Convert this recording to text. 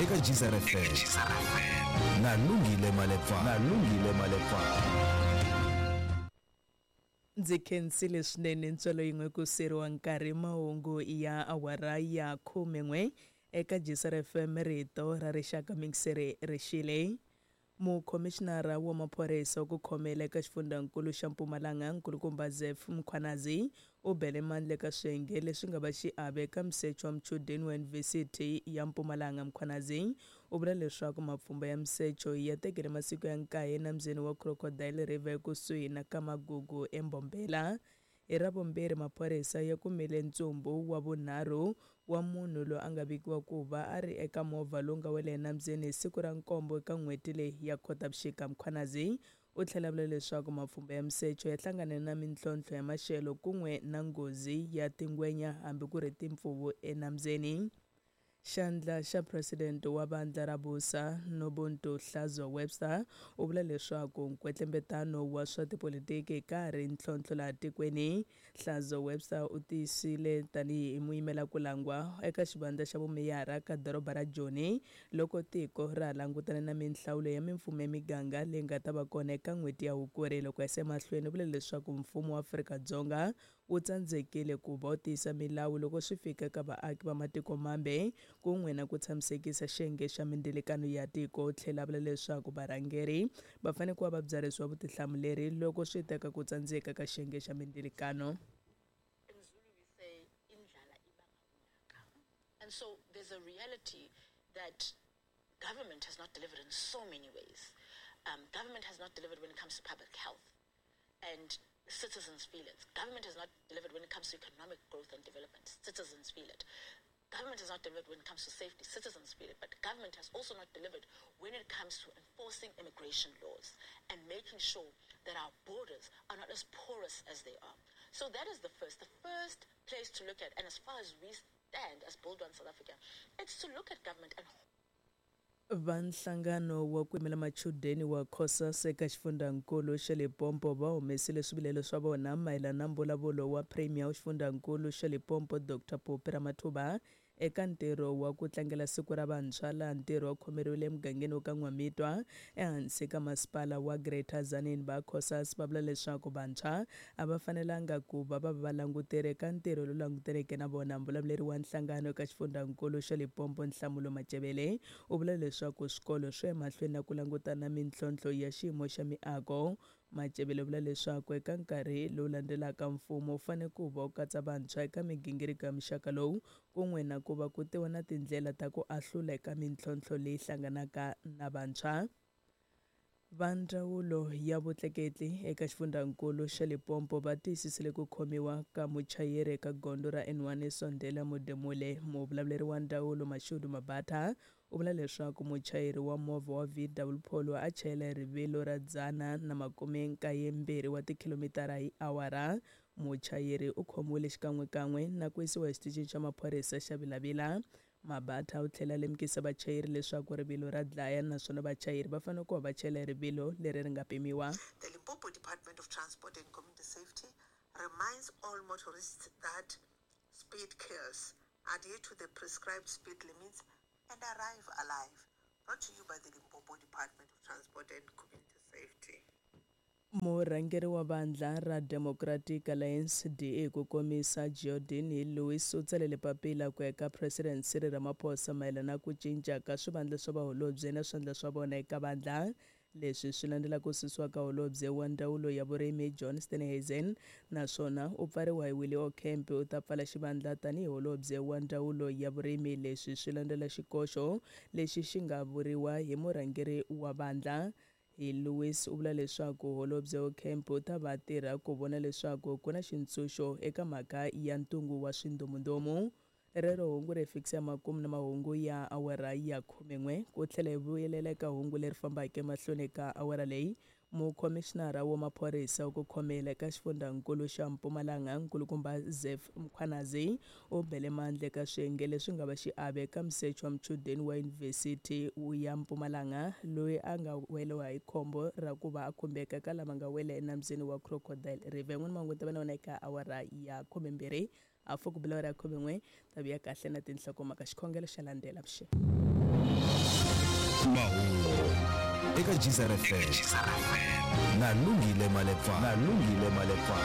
Eka Geyser FM na Lungile Malepa na Lungile Malepa. Ndzi khensile swinene ntswalo yin'we ku seriwa nkarhi mahungu ya awara ya khumen'we eka Geyser FM rito ra rixaka mixere rixile. Mukhomixinara wa maphorisa wa ku khomela eka xifundzankulu xa Mpumalanga, Nkulukumba Zeph Mkhwanazi, u bele mandla eka swiyenge leswi nga va xiave eka misecho wa muchudeni wa Yunivhesiti ya Mpumalanga. Mkhwanazi u vula leswaku mapfhumba ya misecho ya tekele masiku ya nkaye enambyeni wa Crocodile River ekusuhi na Kamagugu eMbombela. Hi Ravumbirhi, maphorisa ya kumile ntsumbu wa vunharhu wa munhu loyi a nga vikiwa ku va a ri eka movha lowu nga wela enambyeni hi siku ra nkombo eka n'hweti leyi ya Khotavuxika. Mkhwanazi u tlhela a vula leswaku mapfhumba ya misecho ya hlangane na mintlhontlho ya maxelo kun'we na nghozi ya tingwenya hambi ku ri timpfuvu enambyeni. Xandla xa President wa Vandla ra Busa, Nobuntu Hlazo-Webster, u vula leswaku nkwetlembetano wa swa tipolitiki ka ha ri ntlhontlho laha tikweni. Hlazo-Webster u tiyisile tanihi muyimelakulangwa eka xivandla xa vumeyara ka doroba ra Joni loko tiko ra ha langutane na minhlawulo ya mimfumo ya miganga leyi nga ta va kona eka n'hweti ya Hukuri. Loko a yisa emahlweni u vule leswaku mfumo wa Afrika-Dzonga wu tsandzekile ku va wu tiyisa milawu loko swi fika eka vaaki va matiko mambe kun'we na ku tshamisekisa xiyenge xa mindzilikano ya tiko. U tlhela a vula leswaku varhangeri va fanele ku va va byarhisiwa vutihlamuleri loko swi ta ka ku tsandzeka ka xiyenge xa mindzilikano. In Zulu we say indlala ibanga ulaka. And so there's a reality that government has not delivered in so many ways. Government has not delivered when it comes to public health, and citizens feel it. Government has not delivered when it comes to economic growth and development. Citizens feel it. Government has not delivered when it comes to safety. Citizens feel it. But government has also not delivered when it comes to enforcing immigration laws and making sure that our borders are not as porous as they are. So that is the first. The first place to look at, and as far as we stand as Bold One South Africa, it's to look at government and Va nhlangano wa ku yimela machudeni wa Cosas eka xifundzankulu xa Limpopo va humesile swivilelo swa vona mayelana na mbulavulo wa Premier wa xifundzankulu xa Limpopo Dr Phophi Ramathuba eka ntirho wa ku tlangela siku ra vantshwa laha ntirho wa khomeriwile emugangeni wa ka N'wamitwa ehansi ka masipala wa Greater Tzaneen. Va Cosas va vula leswaku vantshwa a va fanelanga ku va va va valanguteri eka ntirho lowu langutaneke na vona. Mbulavuleri wa nhlangano eka xifundzankulu xa Limpopo Nhlamulo Matjebele u vula leswaku swikolo swi ya emahlweni na ku langutana na mintlhontlho ya xiyimo xa miako. Matjebele u vula leswaku eka nkarhi lowu landzelaka mfumo wu fanele ku va wu katsa vantshwa eka migingiriko ya muxaka lowu kun'we na ku va ku tiwa na tindlela ta ku ahlula eka mintlhontlho leyi hlanganaka na vantshwa. Va ndzawulo ya vutleketli eka xifundzankulu xa Limpopo va tiyisisile ku khomiwa ka muchayeri eka gondzo ra N1 eSondela Modimolle. Muvulavuleri wa ndzawulo Mashudu Mabatha u vula leswaku muchayeri wa movha wa VW Polo a chayela hi rivilo ra 192 wa tikhilomitara hi awara. Muchayeri u khomiwile xikan'wekan'we na ku yisiwa exitichini xa maphorisa xa Vilavila. Mabatha u tlhela a lemukisa vachayeri leswaku rivilo ra dlaya naswona vachayeri va fanele ku va va chayela hi rivilo leri ri nga pimiwa. The Limpopo Department of Transport and Community Safety reminds all motorists that speed kills. Adhere to the prescribed speed limits and arrive alive. Brought to you by the Limpopo Department of Transport and Community Safety. Murhangeri wa vandla ra Democratic Alliance, DA ku komisa, Geordin Hill-Lewis u tsalele papila ku ya eka President Cyril Ramaphosa mayelana na ku cinca ka swivandla swa vaholobye na swandla swa vona eka vandla. Leswi swi landzela ku susiwa ka holobye wa ndzawulo ya vurimi John Steenhuisen naswona u pfariwa hi Willie Aucamp u ta pfala xivandla tanihi holobye wa ndzawulo ya vurimi. Leswi swi landzela xikoxo lexi xi nga vuriwa hi murhangeri wa vandla. Hi Lewis u vula leswaku holobye Aucamp u ta va tirha ku vona leswaku ku na xintshunxo eka mhaka ya ntungu wa swindomundomu. Rero hungu ri hi fikisa emakumu na mahungu ya awara ya khumen'we. Ku tlhela hi vuyelela eka hungu leri fambaka emahlweni ka awara leyi, Mukhomixinara wa maphorisa wa ku khomela eka xifundzankulu xa Mpumalanga, Nkulukumba Zeph Mkhwanazi, u bele mandla eka swiyenge leswi nga va xiave eka musecho wa muchudeni wa Yunivhesiti ya Mpumalanga loyi a nga weriwa hi khombo ra ku va a khumbeka eka lava nga wela enambyeni wa Crocodile River. N'wini mahungu ta va na wona eka awara ya khumembirhi hafu ku bela awara ya khumen'we ta vuya kahle na tinhlokomhaka. Xikhongelo xa landzela. Avuxeni. Mahungu eka GCR FM na Lungile Malepa, na Lungile Malepa.